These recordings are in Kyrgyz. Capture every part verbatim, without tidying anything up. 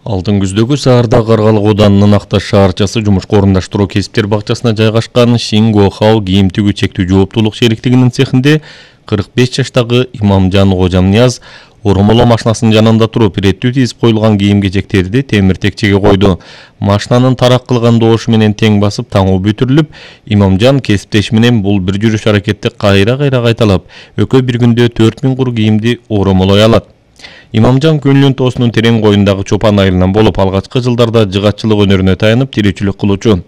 Алдын күздөгү Саарда Каргалык Оданынын Акташ шаарчасы жумушка орундаштыруу кесиптер бакчасына жайгашкан Шинго Хау кийим тигүү чектүү жооптуулук шериктигинин цехинде кырк беш жаштагы Имамжан Кожамнияз оромолоо машинасынын жанында туруп иреттүү тизип коюлган кийим-кечектерди темир-текчеге койду. Машинанын тарак кылган добушу менен тең басып таңуу бүтүрүлүп, Имамжан кесиптеши менен бул бир жүрүш аракетти кайра-кайра кайталап, экөө бир күндө төрт миң кур кийимди оромолой алат. Имамжан Күнлүн тоосунун терең коюндагы чопан айылынан болуп, алгачкы жылдарда жыгатчылык өнөрүнө таянып тиричилик кылуучу.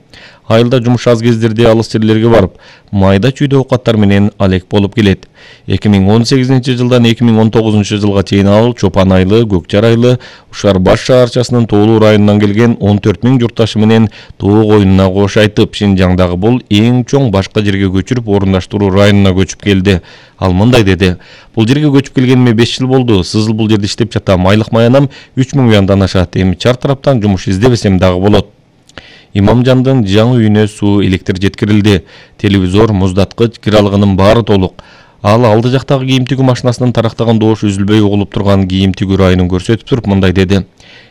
Айылда жумуш аз кездерде алыс жерлерге барып, майда чүйдө оокаттар менен алек болуп келет. эки миң он сегизинчи жылдан эки миң он тогузунчу жылга чейин ал Чопан айылы, Көкжар айылы, Ушар Баш шаарчасынын Тоолуу районунан келген он төрт миң журтташы менен тоо коюнуна кош айтып, Шинжаңдагы бул эң чоң башка жерге көчүрүп орундаштыруу районуна көчүп келди. Ал мындай деди: "Бул жерге көчүп келгениме беш жыл болду. Сызыл бул жерде иштеп жатам. Айлык маянам үч миң уяндан ашат. Эми чар тараптан жумуш издебесем дагы болот." Имамжандын жаңы үйүнө суу, электр жеткирилди. Телевизор, муздаткыч, киралыгынын баары толук. Ал алды жактагы кийим тигүү машинасынын тарактаган добушу үзүлбөй угулуп турган кийим тигүү районун көрсөтүп туруп мындай деди: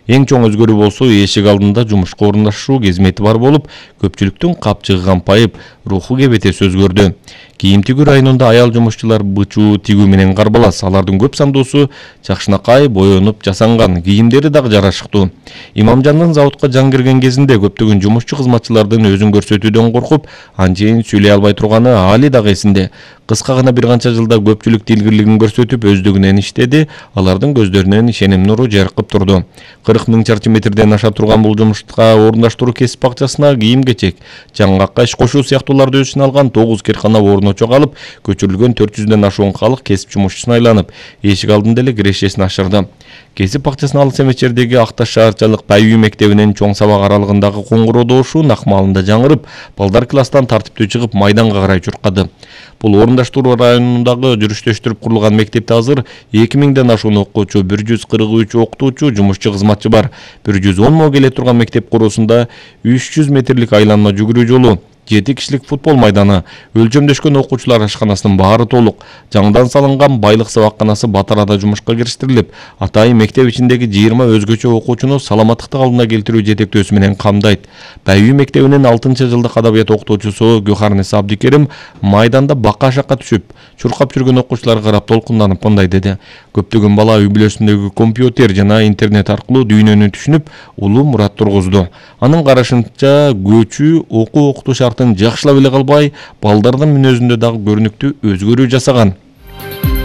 "Эң чоң өзгөрүү болсо, эшик алдында жумушка орундашуу кызмети бар болуп, көпчүлүктүн капчыгыган пайып, руху кебетеси өзгөрдү. Кийим тигүү районунда аял жумушчулар бычуу тигүү менен карбалас. Алардын көп сандуусу жакшынакай боенуп жасанган, кийимдери дагы жарашыктуу. Имамжандын заводко жаңы кирген кезинде көптөгөн жумушчу кызматчылардын өзүн көрсөтүүдөн коркуп, анчейин сүйлөй албай турганы али дагы эсинде. Кыска гана бир канча жылда көпчүлүк тилгирлигин көрсөтүп, өздүгүнөн иштеди. Алардын көздөрүнөн ишеним нуру жаркып турду. кырк миң чарчы метрден аша турган бул жумушка орундаштыруу кесип бакчасына кийим-кечек, жаңгакка иш кошуу сыяктууларды өз ичине алган тогуз киркана орун очок алып, көчүрүлгөн төрт жүздөн ашуун калк кесип жумушчусуна айланып, эшик алдында эле кирешесин ашырды. Кесип бакчасына алыс эмес жердеги Акташ шаарчалык Байүй мектебинин чоң сабак аралыгындагы коңгуроо добушу накмалында жаңырып, балдар класстан тартиптүү чыгып майданга карай чуркады. Бул орундаштыруу районундагы жүрүштөштүрүп курулган мектепте азыр эки миңден ашуун окуучу, бир жүз кырк үч окутуучу, жумушчу кызматчы бар. бир жүз он мо келе турган мектеп куруусунда үч жүз метрлик айланма жүгүрүү жолу, жети кишилик футбол майданы, өлчөмдөшкөн окуучулар ашканасынын баары толук. Жаңдан салынган байлык сабакканасы Батарада жумушка кириштирилип, атайын мектеп ичиндеги жыйырма өзгөчө окуучуну саламаттыкты калыбына келтирүү жетектөөсү менен камдайт. Байүй мектебинин алтынчы жылдык адабият окутуучусу Гөхарнес Абдикерим майданда бака-шакка түшүп, чуркап жүргөн окуучуларга карап толкунданып мындай деди: "Көптөгөн бала үй бүлөсүндөгү компьютер жана интернет аркылуу дүйнөнү түшүнүп, улуу мурат тургузду. Анын карашынча, көчүү окуу окутуу шартын жакшылап эле калбай, балдардын мүнөзүндө дагы көрүнүктүү өзгөрүү жасаган."